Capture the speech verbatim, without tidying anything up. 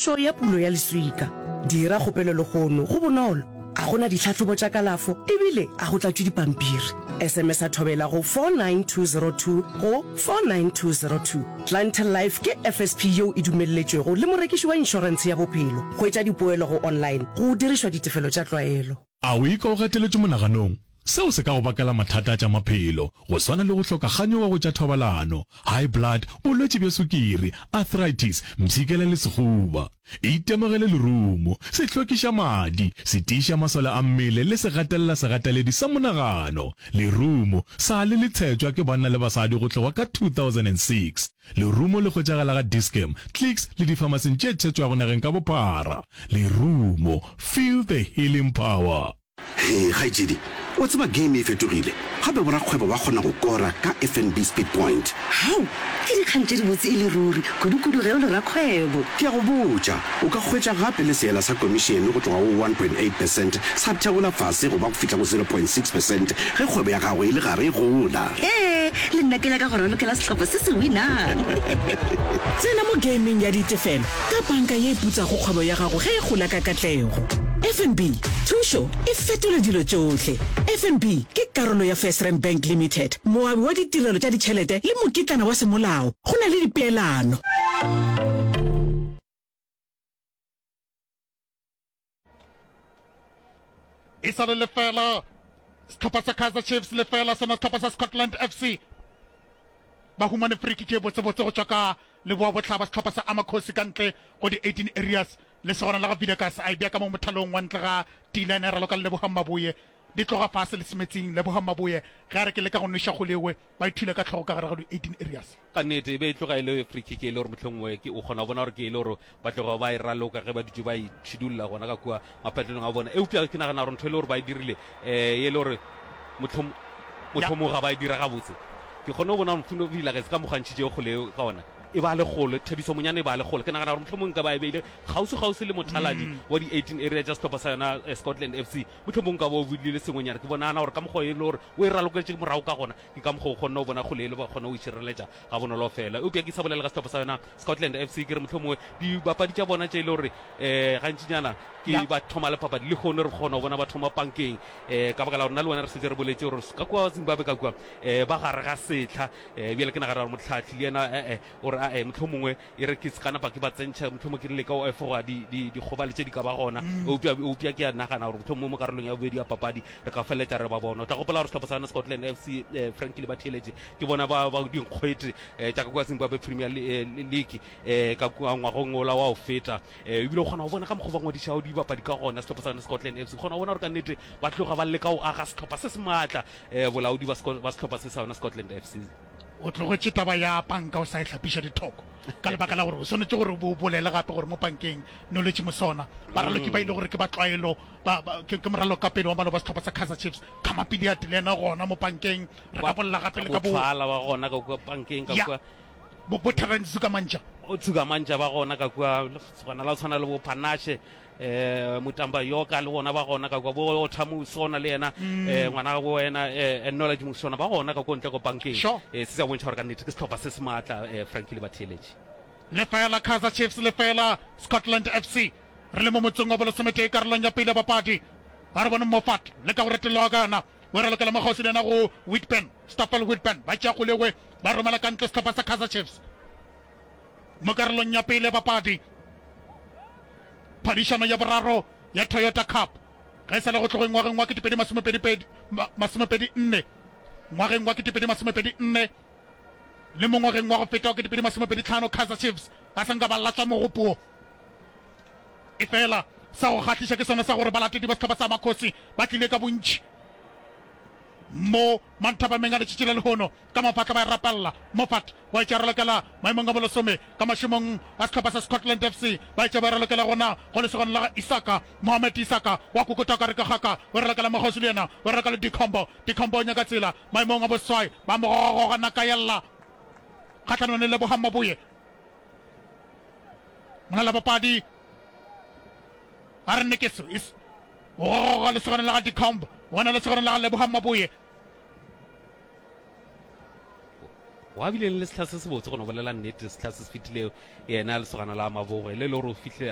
Thušo ya pulo ya leswika. Dira kgopelo lehono, go bonolo, ga go na ditlhahlobo tša kalafo ebile ga go tlatšwe dipampiri. S M S a Thobela go four nine two zero two go four nine two zero two. Clientele Life ke F S P yeo e dumelletšwego le morekiši wa inšorentshe ya bophelo. Hwetša dipoelo go online go dirišwa ditefelo tša tlwaelo. A o ikwa o gateletšwe monaganong? Seo se ka go bakela mathata a tša maphelo, go swana le go hloka kganyogo go tša thobalano, high blood, bolwetši bja sukiri, arthritis, mpshikela le sehuba. Itemogele lerumo, se hlwekiša madi, se tiiša masole a mmele le se gatelela segateledi sa monagano. Lerumo sa le le tshetšwa ke banna le basadi go tloga ka two thousand and six Lerumo le hwetšagala ga Dis-Chem, Clicks le difamasing tše tshetšwago nageng ka bophara. Lerumo, feel the healing power. Hee kgaetšedi, wa tseba game e fetogile, gape borakgwebo ba kgona go kora ka F N B Speed Point. Hao, ke dikgang tše dibotse e le ruri, kudukudu ge o le rakgwebo. Ke a go botša, o ka hwetša gape le seela sa komišene go tloga go one point eight percent sa theola fase go ba go fihla go zero point six percent ge kgwebo ya gago e le gare e gola. Hee, le nna ke nyaka go ralokela sehlopha se se winang. Tsena mo gameng ya ditefelo ka banka ye e putsago kgwebo ya gago ge e gola ka katlego. F N B, thušo e fetola dilo tšohle. F N B ke karolo ya FirstRand Bank Limited, moabi wa ditirelo tša ditšhelete le mokitlana wa semolao. Go na le dipeelano. E sa le lefela sehlopha sa Kaizer Chiefs, lefela sona sehlopha sa Scotland F C. Ba humane free kick ye botsebotse go tšwa ka leboa bohlaba sehlopha sa Amakhosi ka ntle go di eighteen areas. Lesogana la ga Vidakas a e bea ka mo mothalong wa ntle ga D-line ya raloka le Lebogang Maboe. Di tloga fase le semetsing. Lebogang Maboe ge a re ke leka go nweša kgolewe, ba ithula ka hlogo ka gare ga di eighteen areas. Ka nnete e be e tloga e le free kick e le gore mohlomongwe ke o kgona go bona gore ke e le gore ba tloga ba e raloka ge ba dutše ba e tšhidulla gona ka kua mapatlelong a bona. Eupša ke nagana gore ntho e le gore ba e dirile um e le gore mohlom mohlomongwe ga ba e dira gabotse. Ke kgone go bona gore Mfundo Vilakazi ka mokgwa a ntšhitšego kgole eo ka gona e ba le kgole, Thabiso Monyane e ba le kgole. Ke nagana gore mohlomongwe nka ba e beile kgauswi-kgauswi le mothaladi wa di eighteen area tša sehlopha sa yona Scotland F C. Mohlomongwe nka ba o bolile sengwenyana. Ke bonagana gore ka mokgwa e le gore o e raloketše morago ka gona, ke ka mokgwa o kgonne go bona kgole e le ba kgone go itšhireletša gabonolo fela. Eupša ke sa bolela ka sehlopha sa yona Scotland F C, ke re mohlomongwe dibapadi tša bona tše e le gore um gantšinyana ke ba thoma le papadi lehono re kgona go bona ba thoma pankeng um ka baka la gore nna le wena re setse re boletše gore ka kua Zimbabwe ka kua um ba gare ga setlha. um bjale ke nagana gore motlhatlhi le yena ee o re ae mohlomongwe e re ke se ka napa ke ba tsentšha, mohlomongwe ke leka go efoga dikgobalo tše di ka ba gona. Eupša eupša ke a nagana gore mohlomongwe mo karolong ya bobedi ya papadi re ka feleletša re ba bona. O tla gopola gore sehlopha sa yona Scotland F C, eh, Frankie le batheeletše ke bona ba ba dinkgwete eh, tša ka kua Zimbabwe Premier League eh, ka kua ngwagong ola wa go feta. eh, ebile o kgona go bona ka mokgwa ba ngwadišago dibapadi ka gona sehlopha sa yona Scotland F C, o kgona go bona gore ka nnete ba tloga ba leka go aga sehlopha se se maatla, eh, bolaodi ba sehlopha se sa yona Scotland F C. O tlogetše taba ya panka o sa e hlapiša dithoko ka lebaka la gore o swanetše gore o bolele gape gore mo pankeng Knowledge Musona baraloki ba ile gore ke ba tlwaelo ba, ba, ke, ke moralokapele wa maloba sehlopha sa Kaizer Chiefs Khama Billiat le yena gona mo pankeng re ka bolela gape le ka bo Botfala ba gona ka kua pankeng ka Ya. kua. Bo, bo Terence Sukamantja. O Sukamantja ba gona ka kua, gona la tshwana le bo Panashe eh Mutamba Yoka le bona ba gona ka kua, bo Otha Musona le yena eh ngwana bo wena eh Knowledge Musona ba gona ka kua ntle ko pankeng. Sure. Eh se se a bontšha gore ka nnete ke sehlopha se se maatla eh Frankie le batheeletši. Lefela Kaizer Chiefs, lefela Scotland F C. Re le mo motsong wa bolesometee karolong ya pele ya papadi. A re bone Moffat le ka go retologa ka yona. O ralokela mo kgauswi le yena go Whitburn, Stoffel Whitburn. Ba tšea kgolegwe ba romela ka ntle sehlopha sa Kaizer Chiefs. Mo karolong ya pele ya papadi, phadišano ya boraro ya Toyota Cup ge e sa le go tlogeng ngwageng wa ketepedi masomepedi pedi masomepedi nne ngwageng wa ketepedi masomepedi nne le mo ngwageng wa go feta wa ketepedi masomepedi tlhano, Kaizer Chiefs ba sa nka ba latswa mogopo. Efela sa go kgahliša ke sona sa gore balatedi ba sehlopha sa Makhosi ba tlile ka bontši mo manthapameng a letšatši la lehono. Ka mafatla ba e rapella. Moffat wa etša ralokela maemong a bolesome ka mašemong a sehlopha sa Scotland F C. Ba etša ba e ralokela gona go lesogana la ga Isaka. Mohamed Isaka wa kokota ka re ke kgaka. O e ralokela mokgauswi le yena. O e raloka le Dikhombo. Dikhombo o nyaka tsela maemong a boseswai. Ba mo gogagoga naka ya lla kgahlanong le Lebohang Maboe. Molalabapadi a re nne ke se o gogoga lesogana la ga Dicomb gona lesogana la ga Lebohang Maboe. Wa bile le setlha se se botse go no bolela nnete, setlha se se fetilego yena lesogana la Maboe le le gore o fihle